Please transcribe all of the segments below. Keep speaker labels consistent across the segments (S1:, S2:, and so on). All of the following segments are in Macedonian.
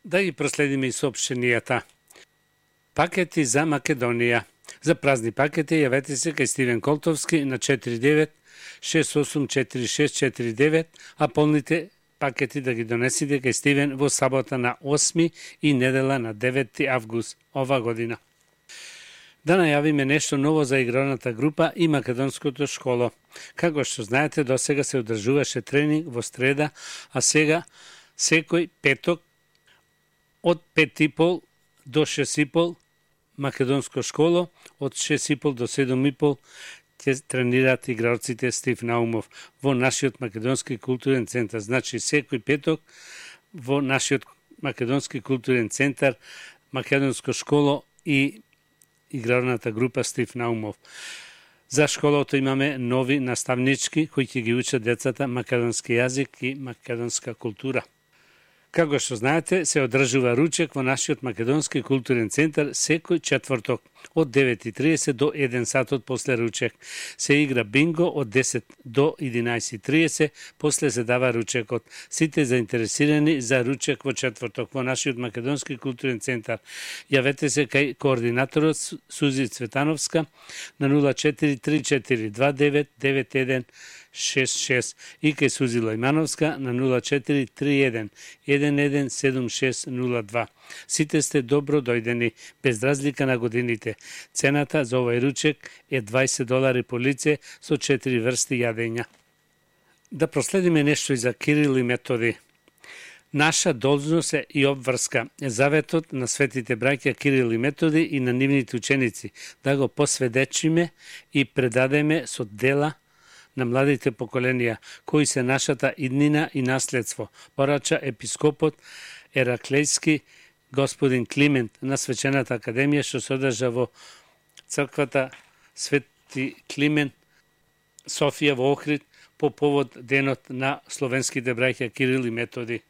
S1: Да ги проследиме и соопштенијата. Пакети за Македонија. За празни пакети јавете се кај Стивен Колтовски на 49684649, а полните пакети да ги донесите кај Стивен во сабота на 8 и недела на 9 август ова година. Да најавиме нешто ново за игралната група и македонското школо. Како што знаете, досега се одржуваше тренинг во среда, а сега секој петок од 5:30 до 6:30 македонско школо, од 6:30 до 7:30 ќе тренираат игралците Стив Наумов во нашиот македонски културен центар. Значи секој петок во нашиот македонски културен центар, македонско школо и игралната група Стив Наумов. За школото имаме нови наставнички кои ќе ги учат децата македонски јазик и македонска култура. Како што знаете, се одржува ручек во нашиот македонски културен центар секој четврток од 9:30 до 1 сатот после ручек. Се игра бинго од 10 до 11:30, после се дава ручекот. Сите заинтересирани за ручек во четврток во нашиот македонски културен центар, јавете се кај координаторот Сузи Цветановска на 0434299166 и кај Сузи Лојмановска на 0431117602. Сите сте добро дојдени, без разлика на годините. Цената за овој ручек е $20 по лице со 4 врсти јадења. Да проследиме нешто и за Кирил и Методи. Наша должност е и обврска е заветот на светите браќа Кирил и Методи и на нивните ученици, да го посведечиме и предадеме со дела на младите поколенија, кои се нашата иднина и наследство, порача епископот Ераклејски господин Климент на Свечената академија, што се одржа во црквата Свети Климент Софија во Охрид по повод денот на словенските браќа Кирил и Методи.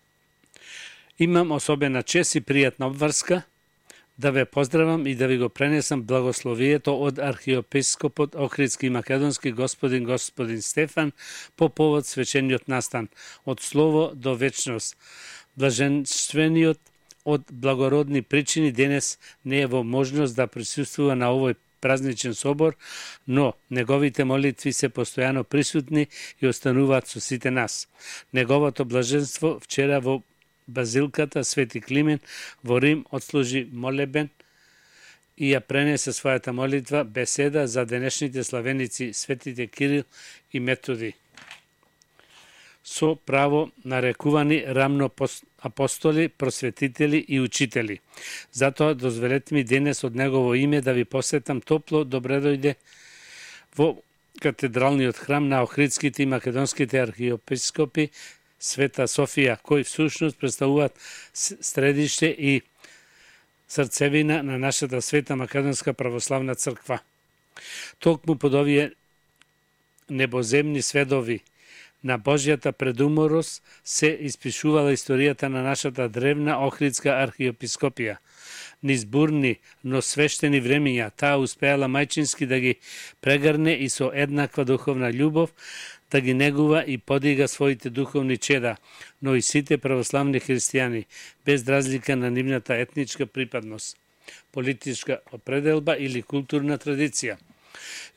S1: Имам особена чест и пријатна обврска да ве поздравам и да ви го пренесам благословието од архиепископот Охридски и македонски господин Стефан по повод свечениот настан од слово до вечност. Блаженствениот од благородни причини денес не е во можност да присуствува на овој празничен собор, но неговите молитви се постојано присутни и остануваат со сите нас. Неговото блаженство вчера во базилката Свети Климент во Рим отслужи молебен и ја пренесе својата молитва беседа за денешните славеници светите Кирил и Методи, со право нарекувани рамно апостоли, просветители и учители. Затоа дозволете ми денес од негово име да ви посетам топло добре дојде во катедралниот храм на Охридските и македонските архиепископи Света Софија, кои всушност представуваат средиште и срцевина на нашата света македонска православна црква. Токму под овие небоземни сведови на Божјата предуморост се испишувала историјата на нашата древна Охридска архиепископија. Низ бурни, но свештени времења, таа успеала мајчински да ги прегрне и со еднаква духовна љубов да ги негува и подига своите духовни чеда, но и сите православни христијани, без разлика на нивната етничка припадност, политичка определба или културна традиција.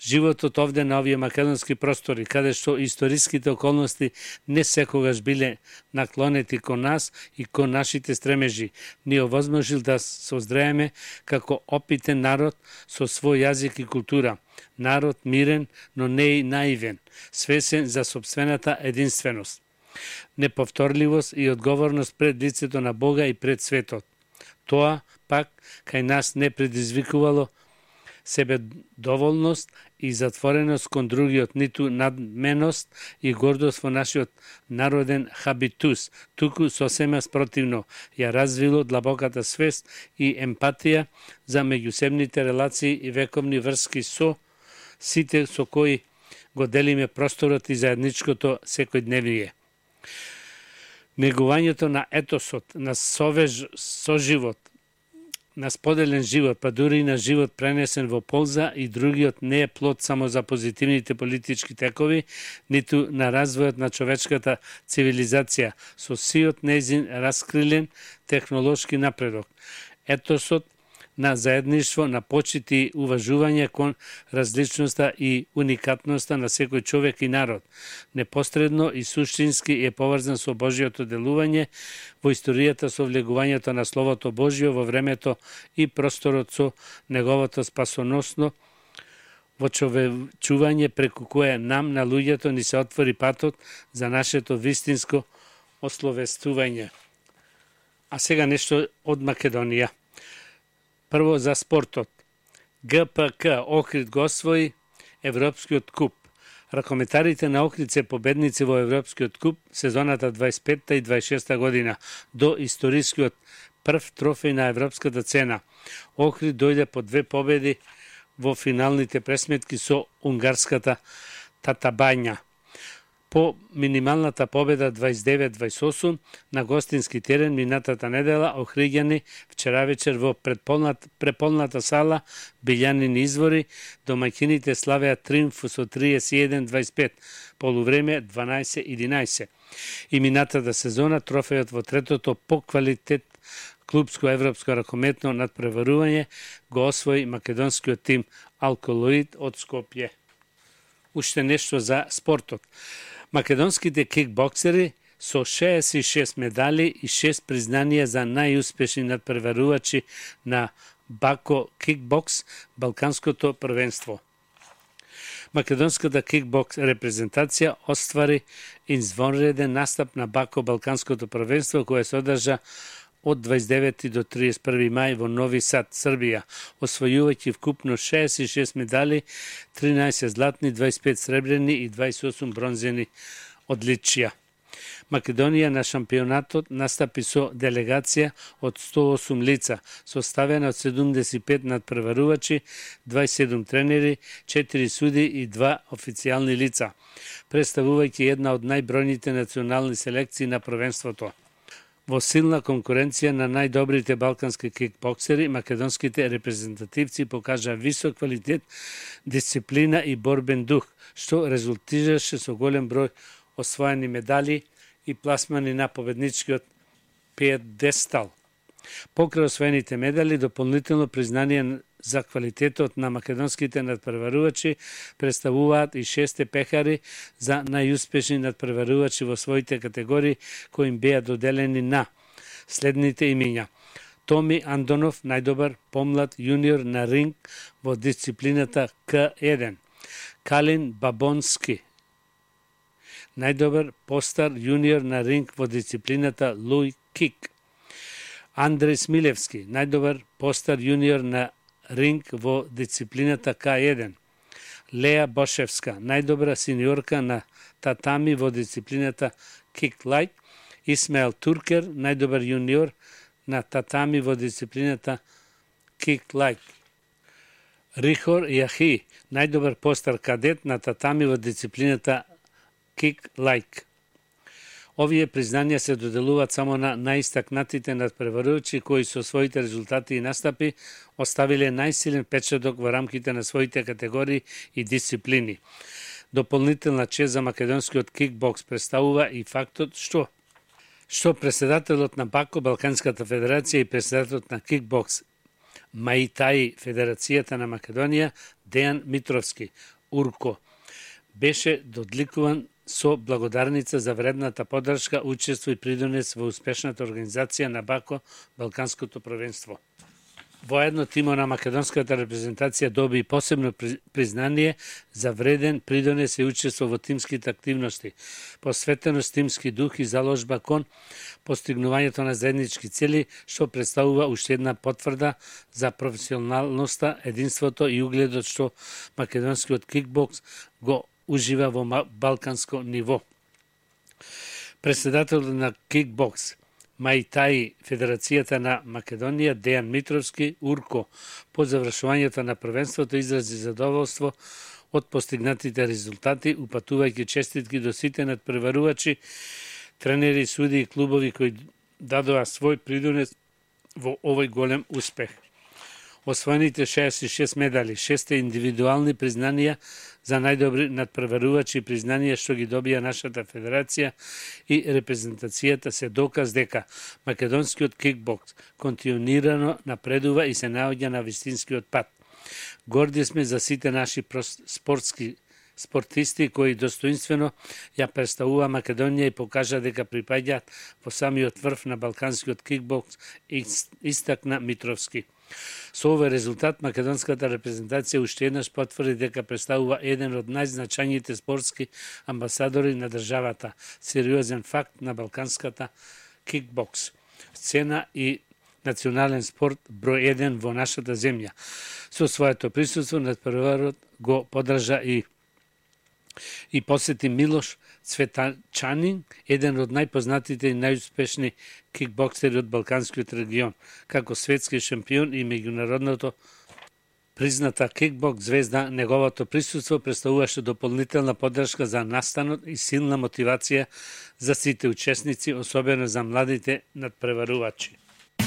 S1: Животот овде на овие македонски простори, каде што историските околности не секогаш биле наклонети кон нас и кон нашите стремежи, ни овозможил да созрееме како опитен народ со свој јазик и култура. Народ мирен, но не и наивен, свесен за собствената единственост, неповторливост и одговорност пред лицето на Бога и пред светот. Тоа пак кај нас не предизвикувало себе доволност и затвореност кон другиот, ниту надменост и гордост во нашиот народен хабитус, туку сосема спротивно ја развило длабоката свест и емпатија за меѓусебните релации и вековни врски со сите со кои го делиме просторот и заедничкото секојдневие. Негувањето на етосот, на соживот, на споделен живот, па дури и на живот пренесен во полза и другиот не е плод само за позитивните политички текови, ниту на развојот на човечката цивилизација, со сиот нејзин раскрилен технолошки напредок. Етосот на заедништво, на почит и уважување кон различноста и уникатноста на секој човек и народ, непосредно и суштински е поврзан со Божиото делување во историјата со влегувањето на Словото Божие во времето и просторот со неговото спасоносно вочовечување преку кое нам на луѓето ни се отвори патот за нашето вистинско ословестување. А сега нешто од Македонија. Прво за спортот. ГПК Охрид го освои Европскиот куп. Ракометарите на Охрид се победници во Европскиот куп сезоната 25 и 26 година до историскиот прв трофеј на европската цена. Охрид дојде по 2 победи во финалните пресметки со унгарската Татабања. По минималната победа 29-28 на гостински терен минатата недела, охриѓани вчера вечер во преполната сала Билјанини извори, домаќините славеа триумф со 31-25, полувреме 12-11. И минатата сезона трофејот во третото по квалитет клубско европско ракометно надпреварување го освои македонскиот тим Алколоид од Скопје. Уште нешто за спортот. Македонските кикбоксери со 66 медали и 6 признанија за најуспешни надпреварувачи на Бако кикбокс, Балканското првенство. Македонската кикбокс репрезентација оствари извонреден настап на Бако Балканското првенство кое се одржа од 29 до 31 мај во Нови Сад, Србија, освојувајќи вкупно 66 медали, 13 златни, 25 сребрени и 28 бронзени одличија. Македонија на шампионатот настапи со делегација од 108 лица, составена од 75 надпреварувачи, 27 тренери, 4 суди и 2 официјални лица, представувајќи една од најбројните национални селекции на првенството. Во силна конкуренција на најдобрите балкански кикбоксери, македонските репрезентативци покажа висок квалитет, дисциплина и борбен дух, што резултираше со голем број освоени медали и пласмани на победничкиот пиедестал. Покрај освоените медали, дополнително признание за квалитетот на македонските надпреварувачи представуваат и 6 пехари за најуспешни надпреварувачи во своите категории кои им беа доделени на следните имиња: Томи Андонов, најдобар помлад јуниор на ринг во дисциплината К1; Калин Бабонски, најдобар постар јуниор на ринг во дисциплината Луј Кик; Андреј Смилевски, најдобар постар јуниор на ринг во дисциплината К1; Леа Бошевска, најдобра сениорка на татами во дисциплината Kick Light; Исмаел Туркер, најдобар јуниор на татами во дисциплината Kick Light; Рихор Јахи, најдобар постар кадет на татами во дисциплината Kick Light. Овие признанија се доделуваат само на најистакнатите надпреварувачи кои со своите резултати и настапи оставиле најсилен печаток во рамките на своите категории и дисциплини. Дополнителна чест за македонскиот кикбокс представува и фактот што председателот на Бако Балканската федерација и председателот на кикбокс Маитаи Федерацијата на Македонија Дејан Митровски, Урко, беше додликуван со благодарница за вредната поддршка, учество и придонес во успешната организација на Бако Балканското првенство. Воедно тимо на македонската репрезентација доби посебно признание за вреден придонес и учество во тимските активности, посветеност тимски дух и заложба кон постигнувањето на заеднички цели, што представува уште една потврда за професионалноста, единството и угледот што македонскиот кикбокс го ужива во балканско ниво. Председателот на кикбокс Маитаи Федерацијата на Македонија Дејан Митровски, Урко, по завршувањето на првенството изрази задоволство од постигнатите резултати, упатувајќи честитки до сите надпреварувачи, тренери, суди и клубови кои дадоа свој придонес во овој голем успех. Освоените 66 медали, 6 индивидуални признанија за најдобри надпреварувачи и признанија што ги добија нашата федерација и репрезентацијата се доказ дека македонскиот кикбокс континуирано напредува и се наоѓа на вистинскиот пат. Горди сме за сите наши спортисти кои достоинствено ја представува Македонија и покажа дека припаѓаат во самиот врв на балканскиот кикбокс, истакна Митровски. Со овој резултат македонската репрезентација уште еднаш потврди дека представува еден од најзначајните спортски амбасадори на државата, сериозен факт на балканската кикбокс сцена и национален спорт број 1 во нашата земја. Со своето присуство надпреварот го подржа и посети Милош Цветачанин, еден од најпознатите и најуспешни кикбоксери од балканскиот регион, како светски шампион и меѓународното призната кикбокс звезда. Неговото присуство представуваше дополнителна поддршка за настанот и силна мотивација за сите учесници, особено за младите надпреварувачи.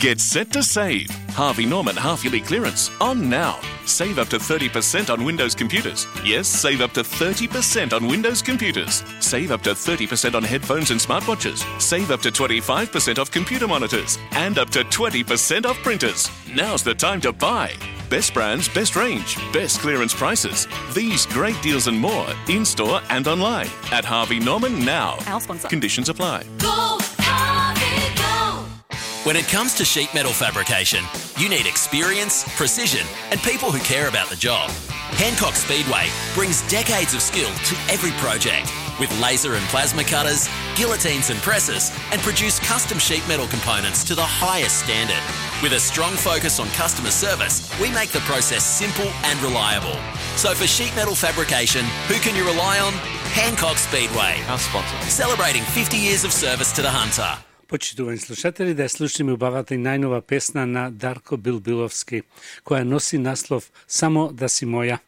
S2: Get set to save. Harvey Norman half-yearly clearance on now. Save up to 30% on Windows computers. Yes, save up to 30% on Windows computers. Save up to 30% on headphones and smartwatches. Save up to 25% off computer monitors. And up to 20% off printers. Now's the time to buy. Best brands, best range, best clearance prices. These great deals and more in-store and online at Harvey Norman now.
S3: Our sponsor.
S2: Conditions apply.
S3: Go, Harvey, go!
S4: When it comes to sheet metal fabrication, you need experience, precision, and people who care about the job. Hancock Speedway brings decades of skill to every project with laser and plasma cutters, guillotines and presses, and produce custom sheet metal components to the highest standard. With a strong focus on customer service, we make the process simple and reliable. So for sheet metal fabrication, who can you rely on? Hancock Speedway.
S2: Our sponsor.
S4: Celebrating 50 years of service to the Hunter.
S1: Почитувани слушатели, да слушаме убавата и најнова песна на Дарко Билбиловски, која носи наслов «Само да си моја».